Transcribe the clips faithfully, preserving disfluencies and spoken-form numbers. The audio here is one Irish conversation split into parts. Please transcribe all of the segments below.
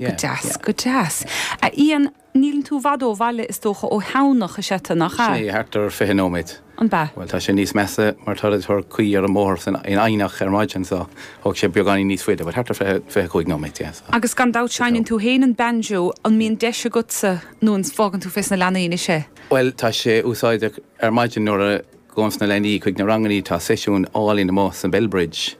Go deas, go deas. A Ian, níl tú i bhfad ó bhaile is dócha ó Thamhnach is ea nach ea? Sé, thart ar fiche nóiméad. An bea? Bhuel, tá sé níos measa mar tá tar caoi ar an mbóthar san in Eidhneach ar maidin so thóg sé beagáinín níos faide, but thart ar fiche, fiche cúig nóiméad, yeah, so. Agus gan dabht seinneann tú féin an banjo, an mbíonn deis agatsa nó an bhfágann tú fés na leanaí anois é? Bhuel, tá sé úsáideach ar maidin nuair a ghabhanns na leanaí chuig na rangannaí, tá seisiún álainn amuigh san Bellbridge.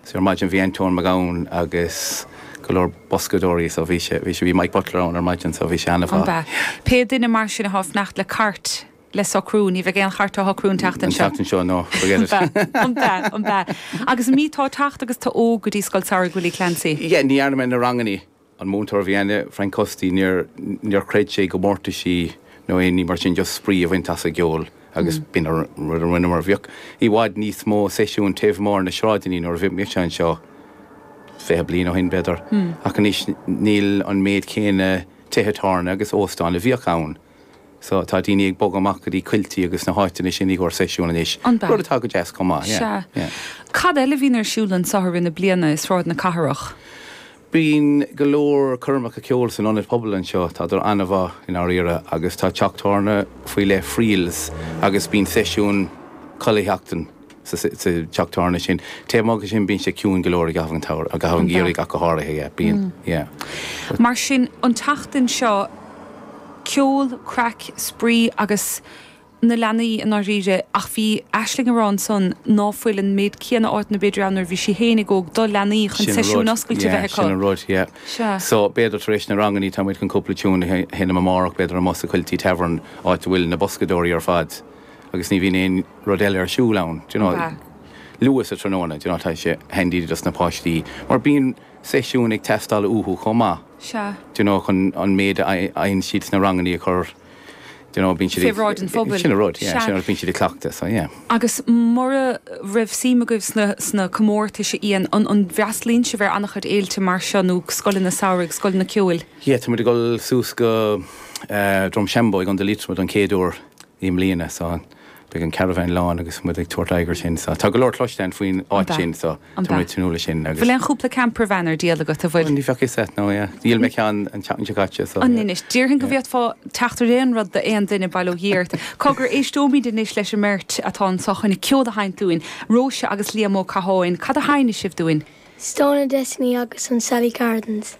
So ar maidin bhí Antóin Mac Gabhann agus go leor boscadóirí so bhí sé, bhí sé, bhí Mike Butler ann ar maidin so bhí sé An an-mhaith. bea? Pé duine mar sin atá ag fanacht le cairt le socrú, ní bheidh aon chairt á shocrú an tseachtain An seo. tseachtain seo, no, forget it. An bea? An bea? An bea? Agus an mí atá ag teacht agus tú óg go dtí Scoil Samhraidh Willie Clancy? Yeah, ní dhearna mé na rangannaí. An múinteoir a bhí ann, Frank Custy, níor, níor chreid sé i gcomórtaisí nó aon ní mar sin, just spraoi a bhaint as an gceol agus b'in an rud a rinneamar. Bhíodh i bhfad níos mó seisiún taobh amuigh ar na sráideanna nuair a bhí mise anseo fiche bliain ó shin, b'fhéidir. Ach anois níl an méid céanna tithe tábhairne agus óstán a bhíodh ann. So tá daoine ag bogadh amach go dtí coilltí agus na háiteanna sin i gcomhair seisiún anois. An bea? Rud atá go deas chomh maith, yeah, Sea. yeah. Cad eile a bhíonn ar siúl anseo i rith na bliana i Sráid na Cathrach? Bíonn go leor coirmeacha ceoil san ionad pobail anseo, tádar an-mhaith i ndáiríre, agus tá teach tábhairne faoi leith, Friels, agus bíonn seisiún chuile sheachtain sa teach tábhairne sin. Taobh amuigh de sin bíonn sé ciúin go leor i gcaitheamh an tsamhraidh, i gcaitheamh an gheimhridh ach go háirithe, yeah, bíonn, yeah. Mar sin, an tseachtain seo, ceol, craic, spraoi agus na leanaí i ndáiríre, ach bhí Aisling ag rá ansan ná fuil an méid céanna áiteanna b'fhéidir ann nuair a bhí sí fhéinig óg do leanaí chun seisiúin oscailte a bheith acu. Sin an rud, yeah. Sea. So, b'fhéidir tar éis na rangannaí tá muid chun cúpla tiún a sheinm amárach, b'fhéidir amuigh sa Quilty Tavern, áit a bhfuil na boscadóirí ar fad agus ní bhíonn aon rud eile ar siúl ann, do you know. Luath sa tráthnóna, do you know, tá sé handy dos na páistí mar bíonn seisiún ag teastáil uathu chomh maith. Sea. Do you know, chun an méid a fhaigheann siad sna rangannaí a chur, do you know, bíonn siad Fé ag, bhráid an phobail. Sin an rud, yeah, Sea. sin an rud, bíonn siad ag cleachtadh, so yeah. Agus mura raibh suim agaibh sna, sna comórtais, a Ian, an, an bhfreastalaíonn sibh ar an-chuid fhéilte mar seo nó scoileanna samhraidh, scoileanna ceoil? Yeah, tá muid ag dul suas go eh, Drumshanbo i gContae Liatroma don chéad uair i mbliana, so beidh an caravan lán agus muid ag tabhairt aghaidh air sin. So tá go leor cloiste againn faoin áit sin, so tá muid ag tnúth leis sin agus. Bhfuil aon chúpla campervan ar díol agat, a bhfuil? Ní bheadh fhios agat, no, yeah. Dhíol mé ceann an tseachtain seo caite, so. An anois, déarfainn go bhféadfá teacht ar aon rud d'aon duine, bail ó Dhia ort. Cogar, éisteoimid anois leis an mbeirt atá anseo chun ceol a sheinnt dúinn, Róise agus Liam Ó Catháin. Cad a sheinnfidh sibh dúinn? Stone of Destiny agus an Sally Gardens.